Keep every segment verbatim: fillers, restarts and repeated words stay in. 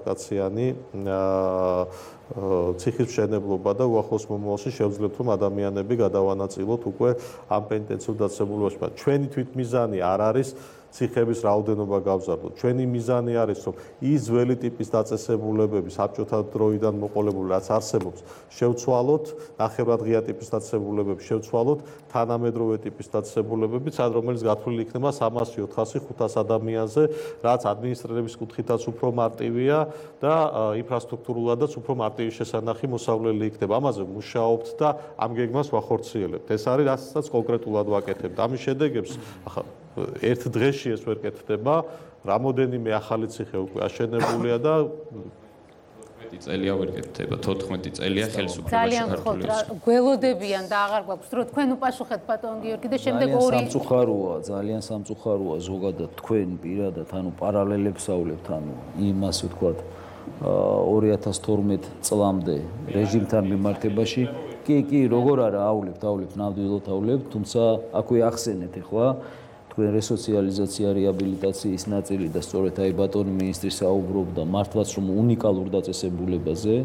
ადაპტაციანი ციხის მშენებლობა და უახლოს მომავალში შევძლებთ რომ ადამიანები გადავანაწილოთ უკვე ამ პენტენციურ დაწესებულებაში. ჩვენი თვითმიზანი არ არის ციხების რაოდენობა გავზარდოთ. ჩვენი მიზანი არის რომ ის ძველი ტიპის დაწესებულებები საბჭოთა დროიდან მოყოლებული რაც არსებობს შევცვალოთ, ნახევრად ღია ტიპის დაწესებულებები შევცვალოთ, თანამედროვე ტიპის დაწესებულებები, სად რომელიც გათვლილი იქნება სამასი, ოთხასი, ხუთას ადამიანზე, რაც ადმინისტრირების კუთხითაც უფრო მარტივია და ინფრასტრუქტურულადაც უფრო მარტივი შესანახი მოსავლელი იქნება. ამაზე მუშაობთ და ამ გეგმას ვახორციელებთ. ეს არის რასაც კონკრეტულად ვაკეთებთ. ამის შედეგებს ახლა ერთ დღეში ეს ვერ კეთდება, რამოდენიმე ახალი ციხე უკვე აშენებულია და თერთმეტი წელია ვერ კეთდება, თოთხმეტი წელია ხელისუფლებაში ძალიან ხოთ რა გველოდებიან და აღარ გვაქვს რომ თქვენ უპასუხეთ ბატონ გიორგი და შემდეგ ორი სამწუხაროა, ძალიან სამწუხაროა ზოგადად თქვენ პირადად ანუ პარალელებს ავლებთ ანუ იმას ვთქვათ ორი ათას თორმეტ წლამდე რეჟიმთან მიმართებაში კი კი როგორ არა ავლებთ ავლებთ ნამდვილად ავლებთ თუმცა აქვე ახსენეთ ახლა თქვენ რესოციალიზაცია რეაბილიტაციის ნაწილი და სწორედ აი ბატონი მინისტრი საუბრობდა მართლაც რომ უნიკალურ დაწესებულებაზე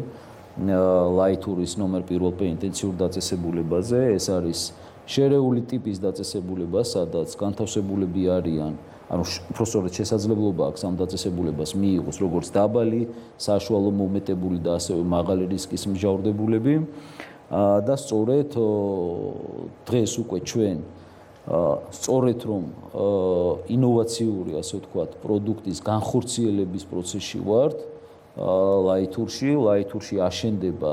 ლაითურის ნომერ პირველ პენტენციურ დაწესებულებაზე ეს არის შერეული ტიპის დაწესებულება სადაც განთავსებულები არიან ანუ უბრალოდ შესაძლებლობა აქვს ამ დაწესებულებას მიიღოს როგორც დაბალი საშუალო მომეტებული და ასევე მაღალი რისკის მსჯავრდებულები და სწორედ დღეს უკვე ჩვენ სწორედ რომ ინოვაციური ასე ვთქვათ პროდუქტის განხორციელების პროცესში ვართ ლაითურში ლაითურში აშენდება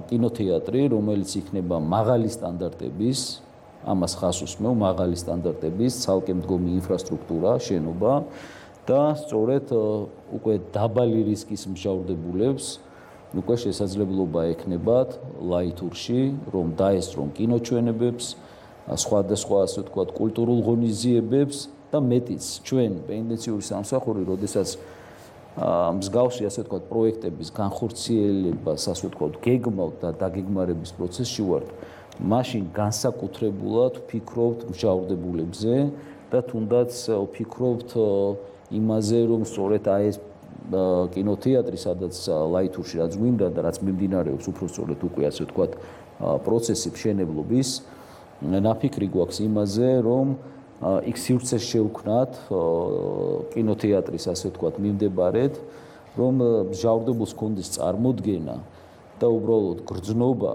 კინოთეატრი რომელიც იქნება მაღალი სტანდარტების ამას ხას უსმევ მაღალი სტანდარტების ცალკე მდგომი ინფრასტრუქტურა შენობა და სწორედ უკვე დაბალი რისკის მსჯავრდებულებს უკვე შესაძლებლობა ექნებათ ლაითურში რომ დაესწრონ კინოჩვენებებს სხვადასხვა ასე ვთქვათ კულტურულ ღონისძიებებს და მეტიც ჩვენ პენტენციური სამსახური როდესაც მსგავსი ასე ვთქვათ პროექტების განხორციელებას ასე ვთქვათ გეგმავთ და დაგეგმარების პროცესში ვართ მაშინ განსაკუთრებულად ვფიქრობთ მსჯავრდებულებზე და თუნდაც ვფიქრობთ იმაზე რომ სწორედ აი ეს კინოთეატრი სადაც ლაითურში რაც გვინდა და რაც მიმდინარეობს უფრო სწორედ უკვე ასე ვთქვათ პროცესი მშენებლობის ნაფიქრი გვაქვს იმაზე რომ იქ სივრცეს შევქმნათ კინოთეატრის ასე ვთქვათ მიმდებარედ რომ მსჯავრდებულს ჰქონდეს წარმოდგენა და უბრალოდ გრძნობა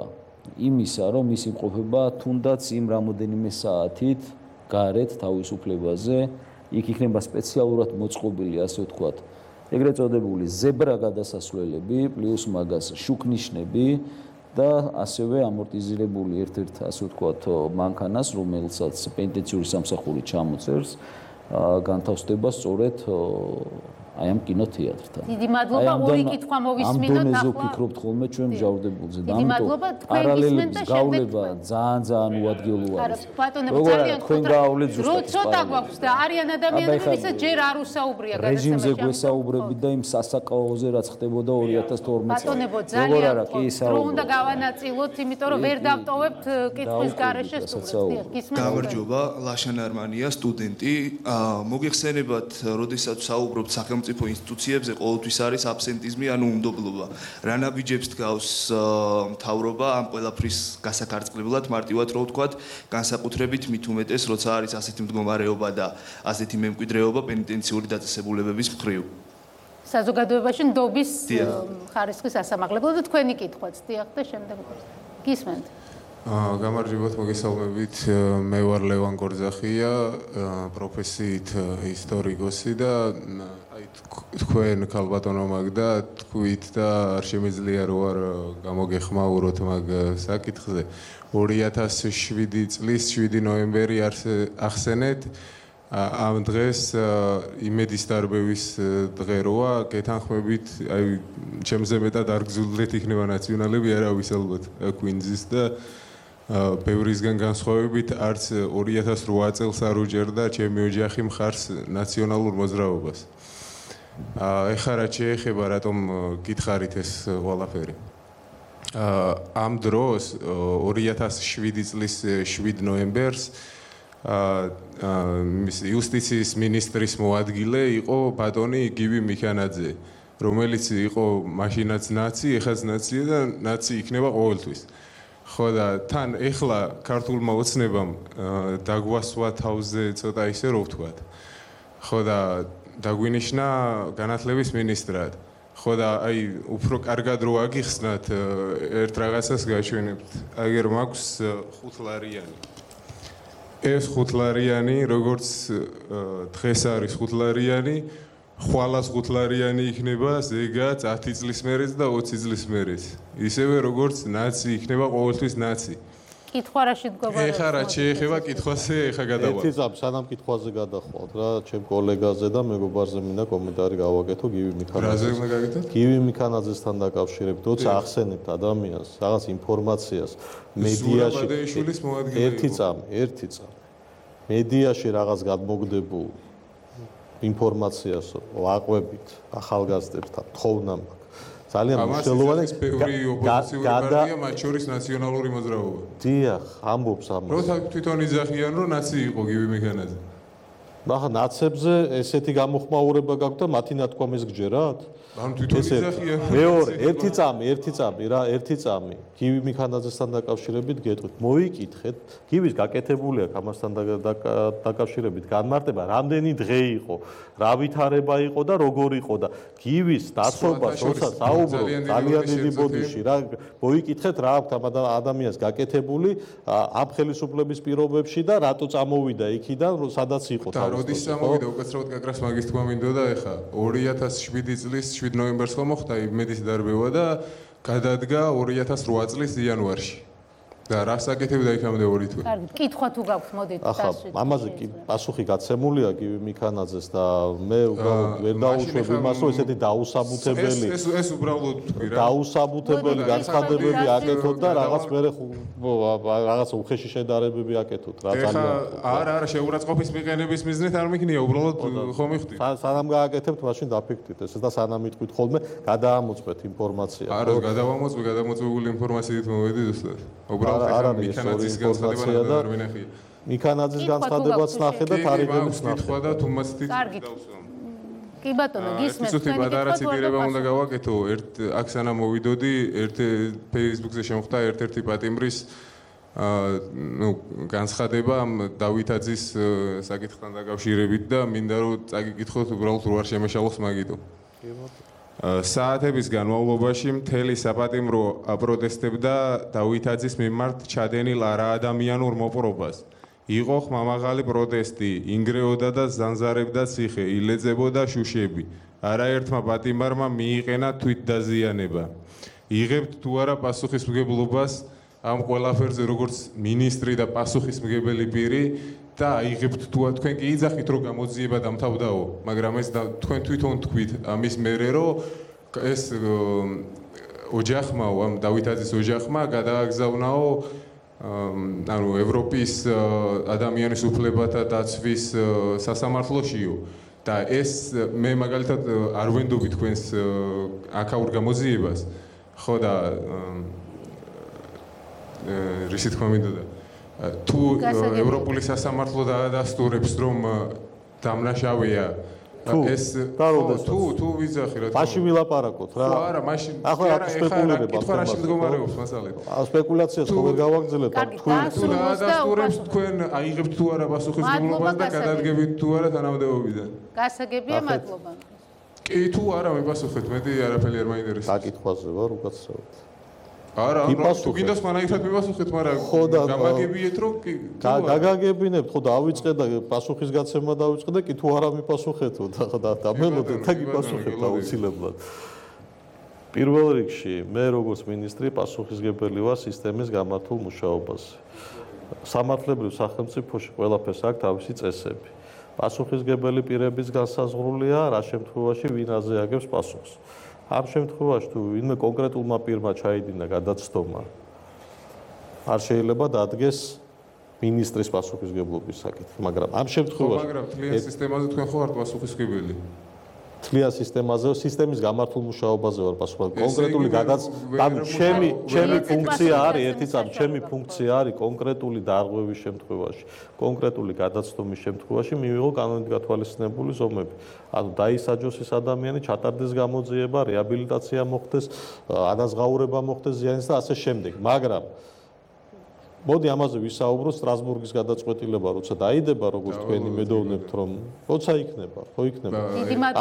იმისა რომ ის იმყოფება თუნდაც იმ რამოდენიმე საათით გარეთ თავისუფლებაზე იქ იქნება სპეციალურად მოწყობილი ასე ვთქვათ ეგრეთ წოდებული ზებრა გადასასვლელები პლუს მაგას შუქნიშნები და ასევე ამორტიზირებული ერთ-ერთ ასე ვთქვათ მანქანას რომელსაც პენტენციური სამსახური ჩამოწერს განთავსდება სწორედ აი ამ კინოთეატრთან. დიდი მადლობა ორი კითხვა მოვისმინოთ ახლა. ამ ვფიქრობთ ხოლმე ჩვენ მსჯავრდებულზე და ამიტომ პარალელების გავლება ძალიან ძალიან უადგილოა. ბატონო ძალიან თქვენ გაავლეთ ზუსტად ეს ცოტა გვაქვს და არიან ადამიანები ვისაც ჯერ არ უსაუბრია გადაცემაში. რეჟიმზე გვესაუბრებით და იმ სასაკაოზე რაც ხდებოდა ორი ათას თორმეტ წელს. ბატონებო ძალიან რო უნდა გავანაწილოთ, იმიტომ რომ ვერ დავტოვებთ კითხვის გარეშე სტუდენტს. გამარჯობა, ლაშან არმანია, სტუდენტი. მოგიხსენებათ, როდესაც საუბრობთ სახელმწიფო სახელმწიფო ინსტიტუციებზე ყოველთვის არის აბსენტიზმი, ანუ უნდობლობა. რა ნაბიჯებს დგავს მთავრობა ამ ყველაფრის გასაკარწყლებლად, მარტივად რო ვთქვათ, განსაკუთრებით მით უმეტეს, როცა არის ასეთი მდგომარეობა და ასეთი მემკვიდრეობა პენიტენციური დაწესებულებების მხრივ. საზოგადოებაში ნდობის ხარისხის ასამაღლებლად და თქვენი კითხვაც დიახ და შემდეგ გისმენთ. გამარჯობათ, მოგესალმებით. მე ვარ ლევან გორძახია, პროფესიით ისტორიკოსი და აი თქვენ ქალბატონო მაგდა თქვით და არ შემიძლია რო არ გამოგეხმაუროთ მაგ საკითხზე. ორი ათას შვიდი წლის შვიდი ნოემბერი ახსენეთ. ამ დღეს იმედის დარბევის დღე როა, გეთანხმებით, აი ჩემზე მეტად არ გზულდეთ იქნება ნაციონალები, არავის ალბათ კვინზის და ბევრისგან განსხვავებით არც ორი ათას რვა წელს არ უჭერდა ჩემი ოჯახი მხარს ნაციონალურ მოძრაობას. ეხლა რაც შეეხება რატომ გითხარით ეს ყველაფერი. ამ დროს ორი ათას შვიდი წლის შვიდ ნოემბერს იუსტიციის მინისტრის მოადგილე იყო ბატონი გივი მიქანაძე, რომელიც იყო მაშინაც ნაცი, ეხაც ნაცია და ნაცი იქნება ყოველთვის. ხო და თან ეხლა ქართულმა ოცნებამ დაგვასვა თავზე ცოტა ისე რო ვთქვათ. ხო და დაგვინიშნა განათლების მინისტრად. ხო და აი უფრო კარგად რო აგიხსნათ ერთ რაღაცას გაჩვენებთ. აგერ მაქვს ხუთლარიანი. ეს ხუთლარიანი, როგორც დღეს არის ხუთლარიანი, ხვალას ხუთლარიანი იქნება ზეგაც ათი წლის მერეც და ოცი წლის მერეც. ისევე როგორც ნაცი იქნება ყოველთვის ნაცი. კითხვა რა შედგება? ეხლა რა შეეხება კითხვაზე, ეხლა გადავალ. ერთი წამს სანამ კითხვაზე გადახვალთ რა, ჩემ კოლეგაზე და მეგობარზე მინდა კომენტარი გავაკეთო გივი მიქანაძეს. რაზე უნდა გაკეთოთ? გივი მიქანაძესთან დაკავშირებით, როცა ახსენებთ ადამიანს, რაღაც ინფორმაციას მედიაში ერთი წამი, ერთი წამი. მედიაში რაღაც გადმოგდებულ ინფორმაციას ვაყვებით ახალგაზრდებთან, თხოვნა მაქვს. ძალიან მნიშვნელოვანი პეური ოპოზიციური პარტია, მათ შორის ნაციონალური მოძრაობა. დიახ, ამბობს ამას. როცა თვითონ იძახიან, რომ ნაცი იყო გივი მიქანაძე. ახლა ნაცებზე ესეთი გამოხმაურება გაქვთ და მათი ნათქვამის გჯერათ? ანუ თვითონ იძახიან. მეორე, ერთი წამი, ერთი წამი რა, ერთი წამი. გივი მიქანაძესთან დაკავშირებით გეტყვით. მოიკითხეთ, გივის გაკეთებული აქვს ამასთან დაკავშირებით განმარტება, რამდენი დღე იყო, რა ვითარება იყო და როგორ იყო და გივის დაცვას როცა საუბრობ ძალიან დიდი ბოდიში რა, მოიკითხეთ რა აქვს ამ ადამიანს გაკეთებული ამ ხელისუფლების პირობებში და რატო წამოვიდა იქიდან, სადაც იყო და როდის წამოვიდა უკაცრავად გაკრას მაგის თქმა მინდოდა ეხა ორი ათას შვიდი წლის შვიდ ნოემბერს ხომ მოხდა იმედის დარბევა და გადადგა ორი ათას რვა წლის იანვარში. და რა საკეთებდა იქამდე ორი თვე. კარგი, კითხვა თუ გაქვთ, მოდით დასვით. ახლა ამაზე კი პასუხი გაცემულია გივი მიქანაძეს და მე ვერ დაუშვებ იმას, რომ ესეთი დაუსაბუთებელი ეს ეს უბრალოდ თქვი რა. დაუსაბუთებელი განცხადებები აკეთოთ და რაღაც მერე რაღაც უხეში შედარებები აკეთოთ რა ძალიან. არა, არა, შეურაცხყოფის მიყენების მიზნით არ მიქნია, უბრალოდ ხომ იხდით. სანამ გააკეთებთ, მაშინ დაფიქრდით ეს და სანამ იტყვით ხოლმე, გადაამოწმეთ ინფორმაცია. არა, გადავამოწმე, გადამოწმებული ინფორმაციით მოვედი ზუსტად. უბრალოდ არ არის მიქანაძის განცხადება და მიქანაძის განცხადებაც ნახე და თარიღებიც ნახე. და თუმაცით დავსვამ. კი ბატონო, გისმენთ. ცოტა პატარა ციტირება უნდა გავაკეთო. ერთ აქ სანამ მოვიდოდი, ერთ Facebook-ზე შემოხდა ერთ-ერთი პატიმრის ну განცხადება დავითაძის საკითხთან დაკავშირებით და მინდა რომ წაგიკითხოთ უბრალოდ რო არ შემეშალოს მაგიტო. საათების განმავლობაში მთელი საპატიმრო აპროტესტებდა დავითაძის მიმართ ჩადენილ არაადამიანურ მოპყრობას. იყო ხმამაღალი პროტესტი, ინგრეოდა და ზანზარებდა ციხე, ილეწებოდა შუშები. არაერთმა პატიმარმა მიიყენა თვითდაზიანება. იღებთ თუ არა პასუხისმგებლობას ამ ყველაფერზე როგორც მინისტრი და პასუხისმგებელი პირი და აიღებთ თუ თქვენ კი იძახით რომ გამოძიება დამთავრდაო, მაგრამ ეს თქვენ თვითონ თქვით ამის მერე რომ ეს ოჯახმა, ამ დავითაძის ოჯახმა გადააგზავნაო ანუ ევროპის ადამიანის უფლებათა დაცვის სასამართლოშიო და ეს მე მაგალითად არ ვენდობი თქვენს აქაურ გამოძიებას, ხო და რისი თქმა მინდოდა თუ ევროპული სასამართლო დაადასტურებს რომ დამნაშავეა ეს თუ თუ ვიზახი რა მაშინ ვილაპარაკოთ რა არა მაშინ ახლა რა სპეკულირება კითხვა რა შემდგომარეობს მასალეთ სპეკულაციას ხო ვერ გავაგრძელებთ თქვენ თუ დაადასტურებს თქვენ აიღებთ თუ არა პასუხისმგებლობას და გადადგებით თუ არა თანამდებობიდან გასაგებია მადლობა კი თუ არა მიპასუხეთ მეტი არაფერი არ მაინტერესებს საკითხვაზე ვარ უკაცრავად არა, თუ გინდა სხვანაირად მივასუხეთ, მაგრამ გამაგებიეთ რომ კი გაგაგებინებთ, ხო დავიწყე და პასუხისგაცემა დავიწყე და კი თუ არა მიპასუხეთო და დამელოდეთ და გიპასუხებთ აუცილებლად. პირველ რიგში მე როგორც მინისტრი პასუხისგებელი ვარ სისტემის გამართულ მუშაობაზე. სამართლებრივ სახელმწიფოში ყველაფერს აქვს თავისი წესები. პასუხისგებელი პირების განსაზღვრულია რა შემთხვევაში ვინ აზე აგებს პასუხს. ამ შემთხვევაში თუ ვინმე კონკრეტულმა პირმა ჩაიდინა გადაცდომა არ შეიძლება დადგეს მინისტრის პასუხისგებლობის საკითხი, მაგრამ ამ შემთხვევაში მაგრამ თლიან სისტემაზე თქვენ ხო არ პასუხისგებელი? თლიან სისტემაზე, სისტემის გამართულ მუშაობაზე ვარ პასუხობ. კონკრეტული გადაც, ანუ ჩემი ჩემი ფუნქცია არის ერთი წამი, ჩემი ფუნქცია არის კონკრეტული დარღვევის შემთხვევაში, კონკრეტული გადაცდომის შემთხვევაში მივიღო კანონით გათვალისწინებული ზომები. ანუ დაისაჯოს ეს ადამიანი, ჩატარდეს გამოძიება, რეაბილიტაცია მოხდეს, ანაზღაურება მოხდეს ზიანის და ასე შემდეგ. მაგრამ მოდი ამაზე ვისაუბროთ სტრასბურგის გადაწყვეტილება, როცა დაიდება, როგორც თქვენი მედოვნებთ, რომ როცა იქნება, ხო იქნება.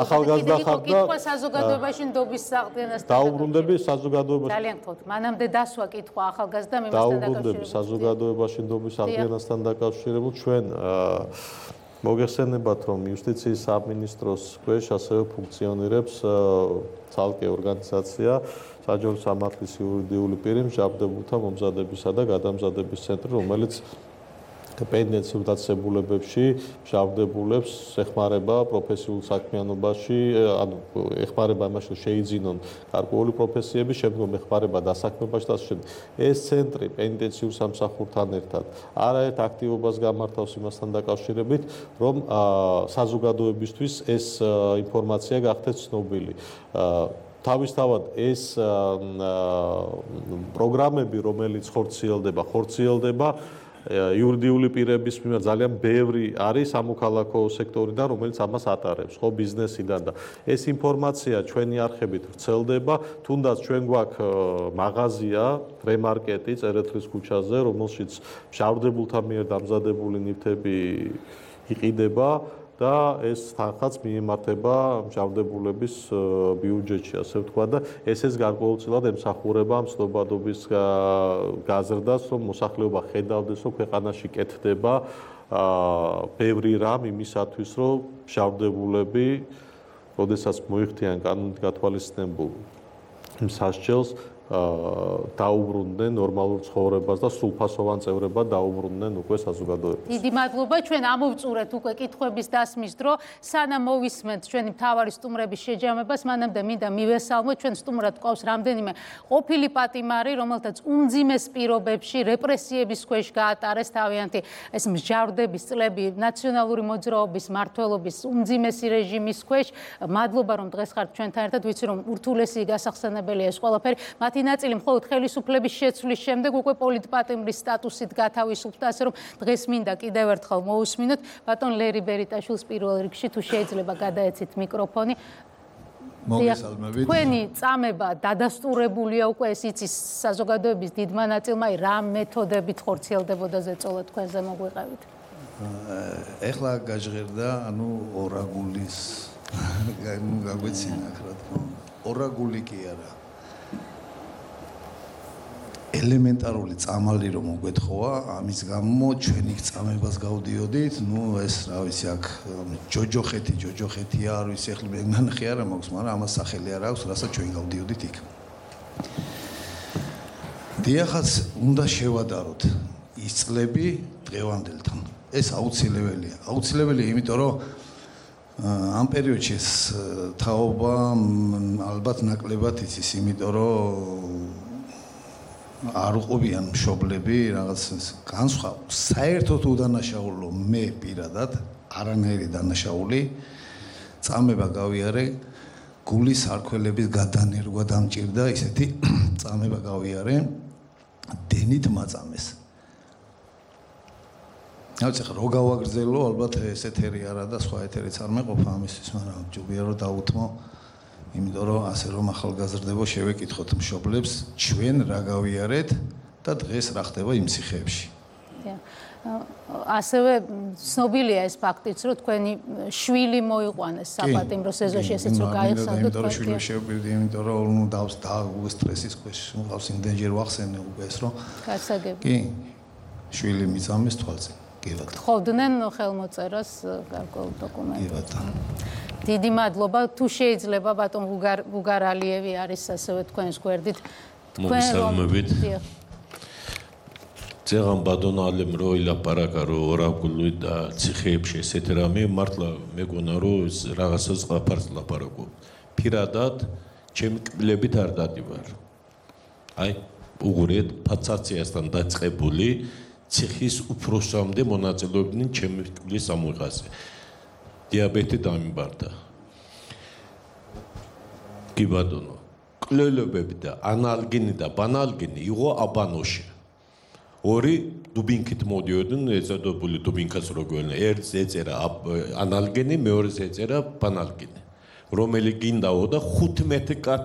ახალგაზრდა ხარ და კითხვა საზოგადოებაში ნდობის საყრდენასთან. დაუბრუნდები საზოგადოებაში. ძალიან გთხოვთ, მანამდე დასვა კითხვა ახალგაზრდა მემასთან დაუბრუნდები საზოგადოებაში ნდობის საყრდენასთან დაკავშირებულ ჩვენ მოგეხსენებათ, რომ იუსტიციის სამინისტროს ქვეშ ასევე ფუნქციონირებს ცალკე ორგანიზაცია საჯარო სამართლის იურიდიული პირი მსჯავრდებულთა მომზადებისა და გადამზადების ცენტრი, რომელიც პენდენციურ დაწესებულებებში მსჯავრდებულებს ეხმარება პროფესიულ საქმიანობაში, ანუ ეხმარება იმაში, შეიძინონ გარკვეული პროფესიები, შემდგომ ეხმარება დასაქმებაში და ასე შემდეგ. ეს ცენტრი პენდენციურ სამსახურთან ერთად არაერთ აქტივობას გამართავს იმასთან დაკავშირებით, რომ საზოგადოებისთვის ეს ინფორმაცია გახდეს ცნობილი. თავისთავად ეს პროგრამები, რომელიც ხორციელდება, ხორციელდება იურიდიული პირების მიმართ ძალიან ბევრი არის სამოქალაქო სექტორიდან, რომელიც ამას ატარებს, ხო, ბიზნესიდან და ეს ინფორმაცია ჩვენი არხებით ვრცელდება, თუნდაც ჩვენ გვაქვს მაღაზია, რემარკეტი წერეთლის ქუჩაზე, რომელშიც მსჯავრდებულთა მიერ დამზადებული ნივთები იყიდება და ეს თანხაც მიემართება მსჯავრდებულების ბიუჯეტში, ასე ვთქვა და ესეც გარკვეულწილად ემსახურება ამ ცნობადობის გაზრდას, რომ მოსახლეობა ხედავდეს, რომ ქვეყანაში კეთდება ბევრი რამ იმისათვის, რომ მსჯავრდებულები, როდესაც მოიხდიან კანონით გათვალისწინებულ სასჯელს, დაუბრუნდნენ ნორმალურ ცხოვრებას და სრულფასოვან წევრებად დაუბრუნდნენ უკვე საზოგადოებას. დიდი მადლობა, ჩვენ ამოვწურეთ უკვე კითხვების დასმის დრო, სანამ მოვისმენთ ჩვენი მთავარი სტუმრების შეჯამებას, მანამდე მინდა მივესალმოთ, ჩვენ სტუმრად გვყავს რამდენიმე ყოფილი პატიმარი, რომელთაც უმძიმეს პირობებში რეპრესიების ქვეშ გაატარეს თავიანთი ეს მსჯავრდების წლები ნაციონალური მოძრაობის მმართველობის უმძიმესი რეჟიმის ქვეშ. მადლობა, რომ დღეს ხართ ჩვენთან ერთად, ვიცი რომ ურთულესი გასახსენებელია ეს ყველაფერი. მათი ნაწილი მხოლოდ ხელისუფლების შეცვლის შემდეგ უკვე პოლიტპატიმრის სტატუსით გათავისუფლდა, ასე რომ დღეს მინდა კიდევ ერთხელ მოусმინოთ ბატონ ლერი ბერიტაშვილს პირველ რიგში, თუ შეიძლება გადაეცით მიკროფონი. მოგესალმებით. თქვენი წამება დადასტურებულია უკვე, ეს იცის საზოგადოების დიდმა ნაწილმა, რა მეთოდებით ხორციელდებოდა ზეწოლა თქვენზე მოგვიყევით. ეხლა გაჟღერდა, ანუ ორაგულის გაგვეცინა, რა თქმა უნდა. ორაგული კი არა. ელემენტარული წამალი რომ მოგეთხოვა, ამის გამო ჩვენი წამებას გავდიოდით, ნუ ეს რა ვიცი აქ ჯოჯოხეთი, ჯოჯოხეთია, არ ვიცი ეხლა მე ნახე არა მაქვს, მაგრამ ამას სახელი არ აქვს, რასაც ჩვენ გავდიოდით იქ. დიახაც უნდა შევადაროთ ის წლები დღევანდელთან. ეს აუცილებელია. აუცილებელია, იმიტომ რომ ამ პერიოდში ეს თაობა ალბათ ნაკლებად იცის, იმიტომ რომ არ უყობიან მშობლები რაღაც განსხვა საერთოდ უდანაშაულო მე პირადად არანაირი დანაშაული წამება გავიარე გულის არქველების გადანერგვა დამჭირდა ისეთი წამება გავიარე დენით მაწამეს. აუცი ხო გავაგრძელო ალბათ ეს ეთერი არა და სხვა ეთერიც არ მეყოფა ამისთვის, მაგრამ ჯობია რომ დაუთმო იმიტომ რომ ასე რომ ახალგაზრდებო შევეკითხოთ მშობლებს ჩვენ რა გავიარეთ და დღეს რა ხდება იმ ციხეებში. ასევე ცნობილია ეს ფაქტიც, რომ თქვენი შვილი მოიყვანეს საპატიმრო სეზონში, ესეც რომ გაიხსენოთ. იმიტომ რომ შვილი შევპირდი, იმიტომ რომ ნუ დავს და სტრესის ქვეშ მყავს იმდენჯერ ვახსენე უკვე ეს რომ გასაგები. კი შვილი მიწამეს თვალზე. კი ბატონო. ხოვდნენ ხელმოწერას გარკვეულ დოკუმენტებს. კი ბატონო. დიდი მადლობა, თუ შეიძლება ბატონ ბუგარალიევი არის ასევე თქვენს გვერდით. მოგესალმებით. ძაღან ბატონ ალემ რო ილაპარაკა რო ორაგული და ციხეებში ესეთ რამე მართლა მეგონა რომ რაღაცას ყაფარს ლაპარაკობ. პირადად ჩემი კბილებით არ დადივარ. აი უღურეთ ფაცაციასთან დაწყებული ციხის უფროსამდე მონაწილეობდნენ ჩემი კბილის ამოიღაზე. დიაბეტი დამიბარდა. კი ბატონო. კვლელებები და ანალგენი და ბანალგენი იყო აბანოში. ორი დუბინკით მოდიოდნენ, ეწოდებული დუბინკას როგვენა. ერთს ეწერა ანალგენი, მეორეს ეწერა ბანალგენი. რომელი გინდაო და ხუთმეტი კაც